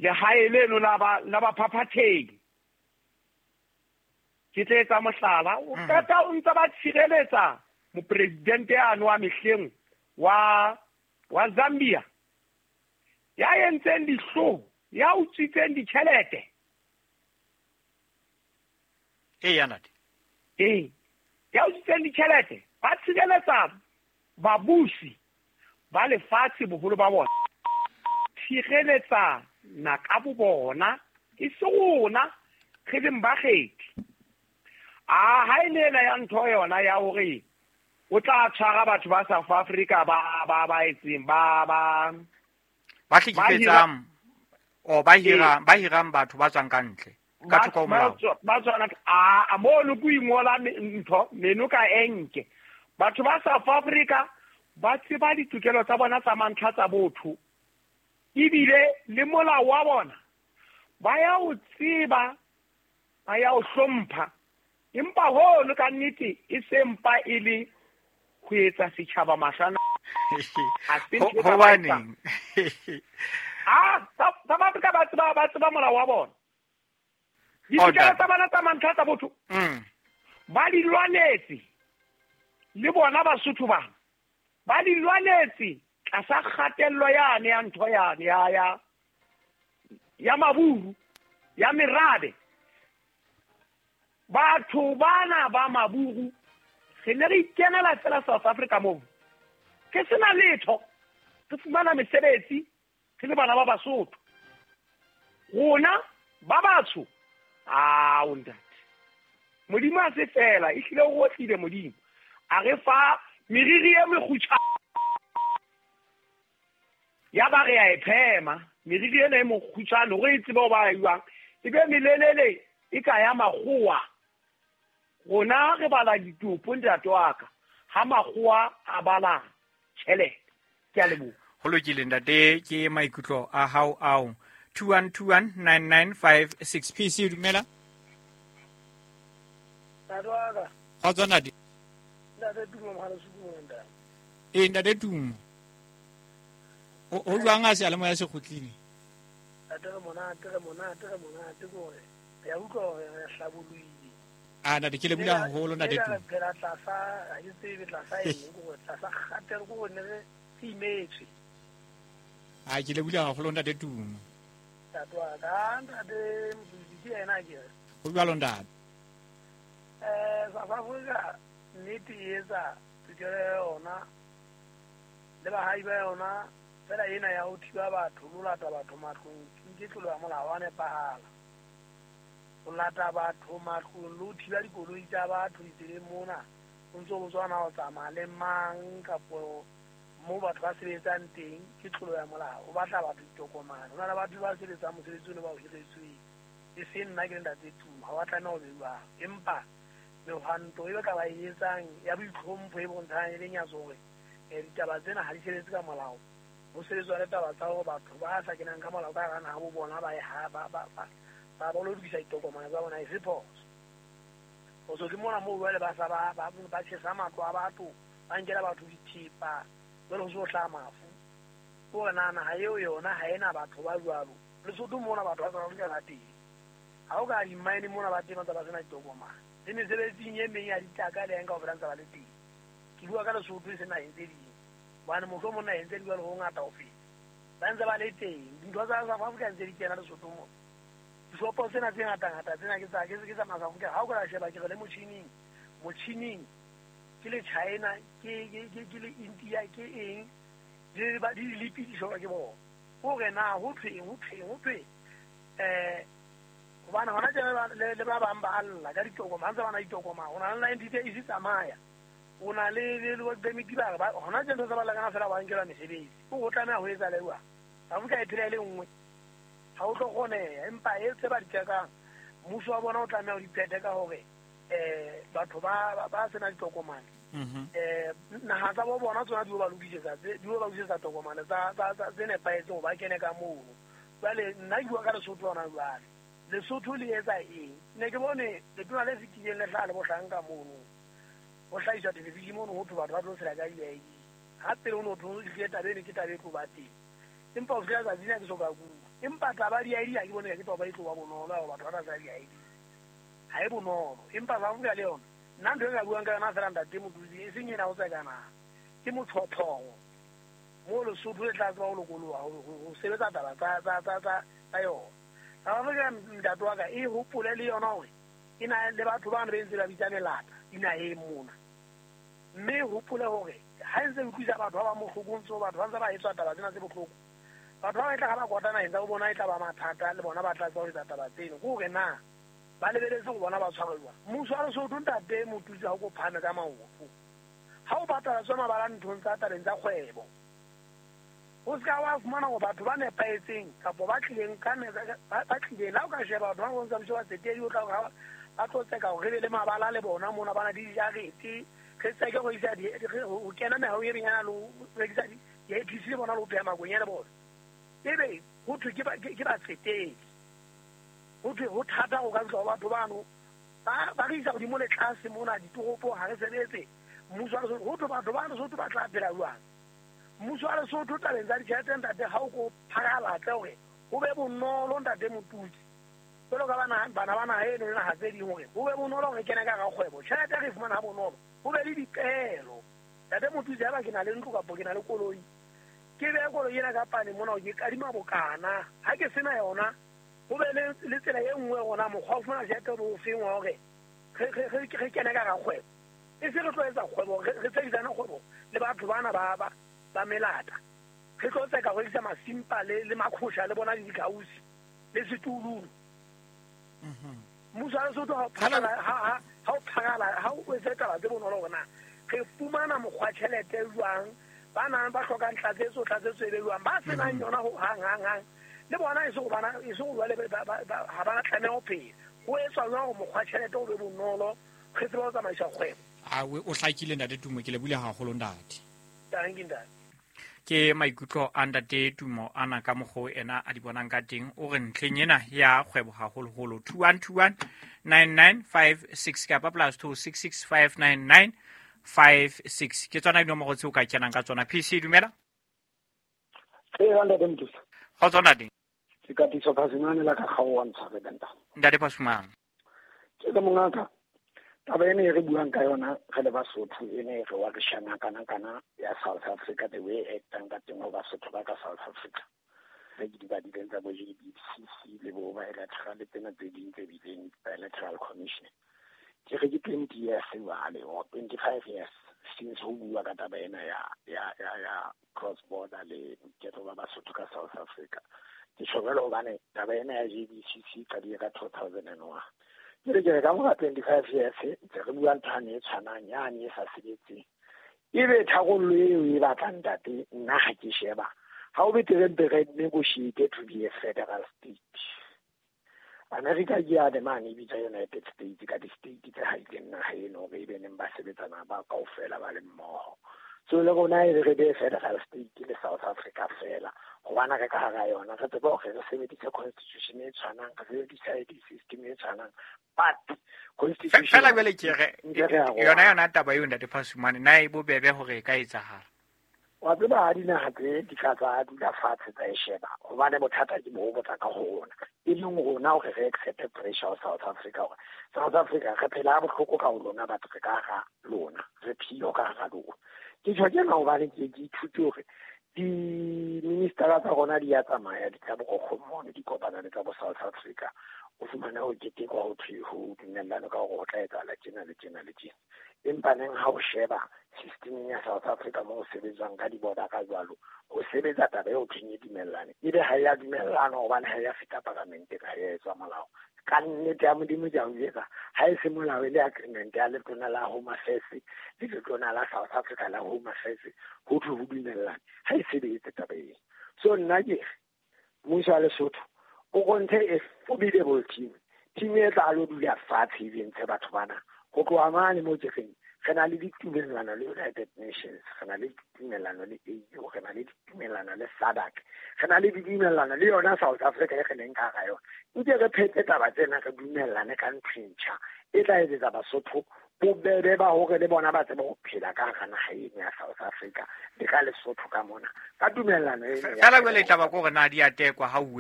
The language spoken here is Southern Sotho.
Lehae leno la ba la baphaphathehi. Ke tle etsa mohlala, o qeta o ntse ba tshireletsa mopresidente yane wa mehleng wa wa Zambia ya entseng dihloho, ya utswitseng ditjhelete. Eya ntate. Ee, ya utswitseng ditjhelete. Ba tshireletsa babusi ba lefatshe boholo ba bona. Tshireletsa na ka bo bona, e se rona re leng bakgethi. A ha e le ena ya ntho yona ya hore o tla tshwara batho ba South Africa ba ba ba etseng ba ba Ba hlekefetsang o ba hirang, ba hirang batho ba tswang ka ntle ka thoko ho molao. Ba tswana a mono ko ingola ntho meno ka enke. Batho ba South Africa ba tseba ditokelo tsa bona tsa mantlha tsa botho, ebile le molao wa bona ba ya o tseba, ba ya o hlompha. Empa hono ka nnete e se mpa e le ho etsa setjhaba mahlwana. Hobaneng? Ah, South Africa ba tseba, ba tseba molao wa bona. Ditokelo tsa bona tsa mantlha tsa botho ba di lwanetse le bona Basotho bana ba di lwanetse tlasa kgatello yane ya ntho yane ya ya ya maburu ya merabe. Batho bana ba maburu re ne re ikenela fela South Africa moo, re sena letho, re fumana mesebetsi re le bana ba Basotho. Rona ba batsho, ao ntate, Modimo a se fela, ehlile o otlile Modimo a re fa meriri e mekgutshwane, ya ba re a e phema meriri ena e mokgutshwane hore e tsebe ho ba jwang, e be melelele e ka ya makgowa. Rona re bala ditopo ntate wa ka, ha makgowa a bala tjhelete. Ke a leboha. Ho lokile ntate, ke maikutlo a hao ao. 21219956 PC, dumela. Ntate wa ka. Kgotso ntate. Ntate Tumo, mogala se Tumo ntate. Ee ntate Tumo. Ho jwang a seyalemoya se kgutlile? Ntate re monate, re monate, re monate ke hore re a utlwa hore re hlabollohile. Ah ntate, ke lebohile haholo ntate Tumo. Re phela tlasa, ha ke tsebe tlasa eng, ke hore tlasa kgatelo, ke hore ne re imetswe. Ah, ke lebohile haholo ntate Tumo. Ntate wa ka, ntate Motsosi ke yena ke re. Ho jwalo ntate. South Africa nnete e etsa tokelo ya yona le bahai ba yona, fela ena ya ho thiba batho le ho lata batho matlong ke tlolo ya molao wa nepahala. Ho lata batho matlong le ho thiba dikoloi tsa batho ditseleng mona, o ntso botswa na o tsamaya le mang kapo mo batho ba sebetsang teng, ke tlolo ya molao. O batla batho ditokomane, ho na le batho ba sebetsang mosebetsi ono ba o hiretsweng, e seng nna ke le ntate Tumo, ha wa tlameha ho be jwalo. Empa mehwanto e ba ka ba e etsang ya boitlhompho e bontshang e le nyatso hore ditaba tsena ha di sebetse ka molao, ho sebetswa le taba tsa hore batho ba sa kenang ka molao ka hara naha bo bona ba ba ba ba ba ba lo lokisa ditokomane tsa bona, e se phoso. Phoso ke mona moo jwale ba sa ba ba ba tjhesa matlo a batho, ba nkela batho dithepa, jwale ho se ho hlaha mafu. Ke hore na naha eo yona ha ena batho ba jwalo. Lesotho mona batho ba South Africa ba teng, ha o ka di-mine mona ba teng ba ntse ba sena ditokomane, le mesebetsing e meng ya ditlaka le eng kaofela ntse ba le teng. Ke bua ka Lesotho e se naheng tse ding, hobane mohlomong naheng tse ding jwale ho ngata ho feta, ba ntse ba le teng. Dintho tsa South Africa ntse di kena Lesotho mona, dishopo tsena tse ngata-ngata tsena ke tsa ke tsa South Africa. Ha o ka sheba ke re le motjhining, motjhining ke le China, ke ke ke ke le India, ke eng di ba di lipi di sheba ke bona. Hore na ho thweng, ho thweng, ho thweng, hobane hona tjena le ba bang ba alla ka ditokomane, ha ntse ba na ditokomane, o na le 90 days e tsamaya, o na le le work permit ba re ba hona tjena ntho tsa ba lakana fela ba nkelwa mesebetsi. O tlameha ho etsa le jwang? Afrika e phela e le nngwe, ha o tlo kgoneha. Empa e tse ba di tsekang, mmuso wa bona o tlameha ho di phethe ka hore batho ba ba sena ditokomane, naha tsa bo bona tsona di o ba lokisetsa, di o ba lokisetsa tokomane tsa tsa tse nepahetseng hore ba kene ka mono. Jwale nna ke bua ka Lesotho hona jwale. Lesotho le etsa eng? Ne ke bone letona le fetileng le hlaha le bohlanka mono, ho hlahiswa television mono, ho thwe batho ba tlo tshela ka di-ID. Ha pele ho no thwe ehlile taba eno ke taba e tlo ba teng. Empa ho fihlela tsatsi lena ke soka bua. Empa taba di-ID ha ke bone ke taba e tlo ba bonolo ya hore batho ba tla tsaya di-ID. Ha e bonolo. Empa South Africa le yona, nna ntho e nka buang ka yona feela ntate Motutsi, e seng ena ho tseka naha. Ke motshotshoro. Moo Lesotho le tla tseba ho lokoloha ho sebetsa taba tsa yona. South Africa ntate wa ka e hopole le yona hore e na le batho bano ba ntse ba bitsa melata dinaheng mona. Mme hopole hore ha e ntse e utlwisa batho ba bang bohloko, ntse batho ba ntse ba etswa taba tsena tse bohloko. Batho ba bang e tla ha ba kwata naheng tsa bo bona e tla ba mathata le bona ba tla tseba ho etsa taba tseno. Ke hore na ba lebeletse ho bona ba tshwarwe jwang. Mmuso wa Lesotho ntate Motutsi ha o ko phahame ka maoto. Ha o patala tswa mabala nthong tsa tabeng tsa kgwebo. O ska wa fumana hore batho ba nepahetseng kapa ba tlileng ka ba tlileng la o ka sheba batho ba bontsa mmuso wa tsetedi o tla hore ba tlo tseka hore re be le mabala le bona mona ba na le dijarete re tseke ho isa ho kena mehahong e menyana le ho rekisa di-APC le bona le ho pheha makwenya le bona. Ebe ho thwe ke batsetedi. Ho thwe ho thata ho ka fihla ho batho bano ba re isa hodimo le tlase mona ditoropong ha re sebetse. Mmuso wa Lesotho ho thwe batho ba Lesotho ba tla phela jwang? Mmuso wa Lesotho tabeng tsa ditjhelete ntate ha o ko phakalatle hore ho be bonolo ntate Motutsi. Jwalo ka bana ba naha eno le naha tse ding hore ho be bonolo hore re kene ka hara kgwebo. Tjhelete re e fumana ha bonolo. Ho be le dipeelo. Ntate Motutsi haeba ke na le ntlo kapa ke na le koloi, ke behe koloi ena ka pane mona hore ke kadima bokana. Ha ke sena yona, ho be le tsela e nngwe rona mokgwa wa ho fumana tjhelete o feng wa hore re kene ka hara kgwebo. E se re tlo etsa kgwebo, re tsekisane kgwebo le batho bana ba melata. Re tlo tseka ho rekisa masimpa le makhosha le bona le dikausi le setululu. Mmuso wa Lesotho ha o phakala ha o etse taba tse bonolo hore na re fumana mokgwa tjhelete jwang, ba nang ba hlokang tlatsetso e be jwang, ba senang yona ho hang hang hang le bona e se go jwale ha ba tlameha ho phela. Ho etswa jwang hore mokgwa tjhelete o be bonolo re tsebe ho tsamaisa kgwebo. A o hlakile ntate Tumo, ke lebohile haholo ntate. Thank you ntate. Ke maikutlo a ntate Tumo ana ka mokgo ena a di bonang ka teng. O re ntlheng ena ya kgwebo haholoholo 2121 9956 kapa +266 599 56 ke tsona dinomoro tseo ka kenang ka tsona. PC dumela. Ee ntate Motutsi. Kgotso ntate. Ke Katiso Phasumane la ka kgaoha ntshware ntate. Ntate Phasumane. Ke le mongaka. Taba ena e re buang ka yona re le Basotho ene re wa re shana kana kana ya South Africa the way e actang ka teng ho Basotho ba ka South Africa. Re ke di badileng tsa bo JBCC le bo bilateral le tsena tse ding tse bileng bilateral commission. Ke re ke 20 years jwale or 25 years since ho bua ka taba ena ya cross border le boiketlo ba Basotho ka South Africa. Ke tjho jwalo hobane taba ena ya JBCC qadile ka 2001. Ke re ke ka mora 25 years ntse re bua ntho e tshwanang yane e sa sebetseng. Ebe tharollo eo e batlang ntate nna ha ke sheba ha o betere mpe re negotiate to be a federal state. America ke ya mane e bitsa United States ka di-state tse haileng naha eno hore ebe neng ba sebetsana ba kaofela ba le mmoho. So le rona e re be federal state le South Africa fela hobane re ka hara yona re tsebe hore re sebedise constitution e tshwanang, re sebedise ID system e tshwanang, but constitution fela jwale ke re yona taba eo ntate Phasumane na e bobebe hore e ka etsahala. Wa tseba ha dinaha tse di ka tsa dula fatshe tsa e sheba hobane bothata ke bo botsa ka ho rona e leng rona hore re accept pressure ho South Africa hore South Africa re phela ha bohloko ka ho lona batho re ka hara lona re phio ka hara lona. Ke tjho tjena hobane ke ithute hore di-ministera tsa rona di ya tsamaya di tla bo di kopana le tsa bo South Africa. O fumane ho ketekwa ho thwe ho dumellano ka hore ho tla etsahala tjena le tjena le tjena. Empa neng ha o sheba systemeng ya South Africa moo ho sebetswang ka di-border ka jwalo, ho sebetsa taba eo thweng e dumellane. Ebe ha ya dumellana hobane ha ya feta paramenteng, ha ya etswa molao. Ka nnete ya Modimo ke a o jwetsa, ha e se molao e le agreement ya letona la Home Affairs le letona la South Africa la Home Affairs ho thwe ho dumellane, ha e sebetse taba eo. So nna ke re mmuso wa Lesotho o kontshe a formidable team, team e tla lo dula fatshe e ntshe batho bana ho tloha mane mo ke reng re na le ditumellano le United Nations, re na le ditumellano le AU, re na le ditumellano le SADC, re na le ditumellano le yona South Africa e re leng ka hara yona. Nke re phete taba tsena re dumellane ka ntho e ntjha e tla etsetsa Basotho Bobebe ba hore le bona ba tsebe ho phela ka hara naha eno ya South Africa le ka Lesotho ka mona, ka tumellano eno ya Fela jwale taba ke hore na di a tekwa ha uwe.